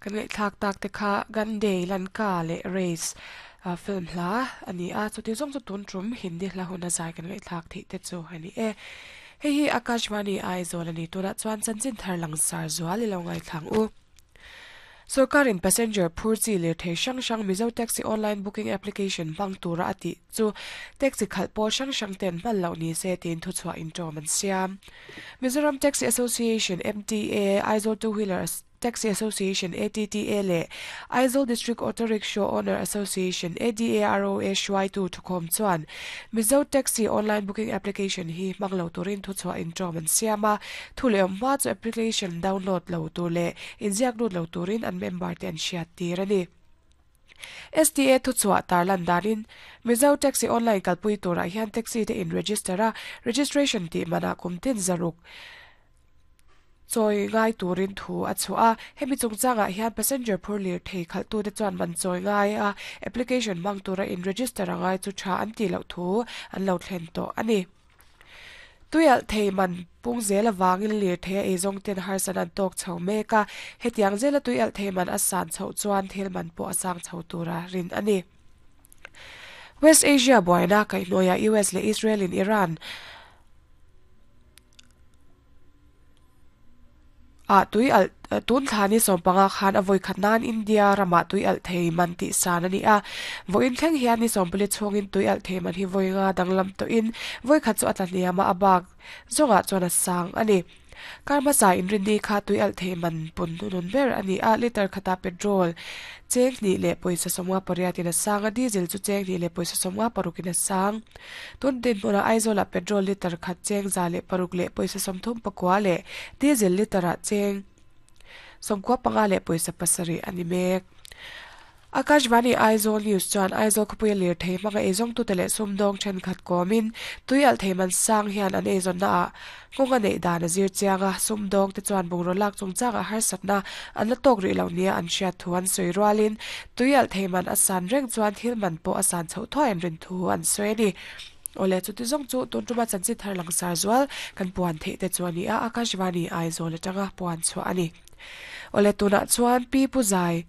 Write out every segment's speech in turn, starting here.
Kan ngaihthlak tak te kha Gandhi, Lanka leh Race film hla a ni a, chuti zawng chu tun tum Hindi hla huna zai kan ngaihthlak theih te chu a ni e. Hei hi Akashvani Aizawl a ni, tunah chuan chanchin thar langsar zual i lo ngaithlang u. Sorkarin passenger phur chi lirthei hrang hrang Mizo Taxi Online Booking Application hmang tura a tih chu taxi khalh pawl hrang hrang ten hman loh ni se tiin thuchhuah inṭawm an siam. Mizoram Taxi Association, MTA, Aizawl Two Wheeler Taxi Association, ATTA, leh Aizawl District Auto Rickshaw Owner Association, ADAROA, hruaitu thukhawm chuan Mizo Taxi Online Booking Application hi hmang lo turin thuchhuah inṭawm an siam a, thu leh awm hma chu application download lo tur leh inziak lut lo turin an member te an hriat tir a ni. STA thuchhuah tarlan danin Mizo Taxi Online kalpui turah hian taxi te in register a, registration tih manah kum tin zaruk chawi ngai turin thu a chhuah a, hemi chungchangah hian passenger phur lirthei khalhtute chuan man chawi ngai a, application hmang tura in register a ngai chu tha an tih loh thu an lo thlen tawh a ni. Tuialh thei man pung zel avangin lirthei a eizawng ten harsat an tawk chho mek a, hetiang zela tuialh thei man a san chhoh chuan thil man pawh a sang chho tura rin a ni. West Asia buaina kaihhnuaiah US leh Israel in Iran ah tui alh tun thla ni sawmpanga khan a vawi khat nan India ramah tui alh thei man tih san a ni a. Vawiin thleng hian ni sawmpali chhungin tui alh thei man hi vawi nga danglam tawhin vawi khat chu a tla hniam a, a bak zawngah chuan a sang a ni. Kar hmasa inrinni kha tui alh thei man pun hnunun ber a ni a, litre khatah petrol cheng hnih leh pawisa sawmnga pariatin a sang a, diesel chu cheng hnih leh pawisa sawmnga parukin a sang. Tun dinhmunah Aizawlah petrol litre khat cheng 106 leh pawisa 34 leh diesel litre-ah cheng 95 leh pawisa 7 a ni mek. Akashvani Aizawl News chuan Aizawl khawpuia lirthei hmanga eizawngtute leh sumdawng thenkhat kawmin tui alh thei man sang hian an eizawnnaah nghawng a neih dan a zir chiang a, sumdawngte chuan bungraw lak chungchangah harsatna an la tawk rih loh nia an hriat thu an sawi rualin tui alh thei man a san reng chuan thil man pawh a san chhoh thuai an rin thu an sawi a ni. Awle chuti zawng chu tun tuma chanchin thar langsar zual kan puan theih te chu a ni a, Akashvani Aizawl atanga puan chhuah a ni. Awle tunah chuan Pi Pu Zai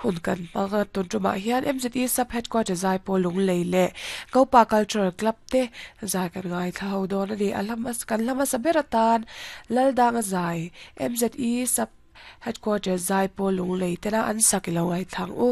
Hun kan hmang a, tun tumah hian MZE Sub Headquarter Zaipawl Lunglei leh Kopa Cultural Club te zai kan ngaithla ho dawn a ni. A hla kan hla hmasa ber atan Laldanga zai MZE Sub Headquarter Zaipawl Lunglei tena an sak i lo ngaithla ang u.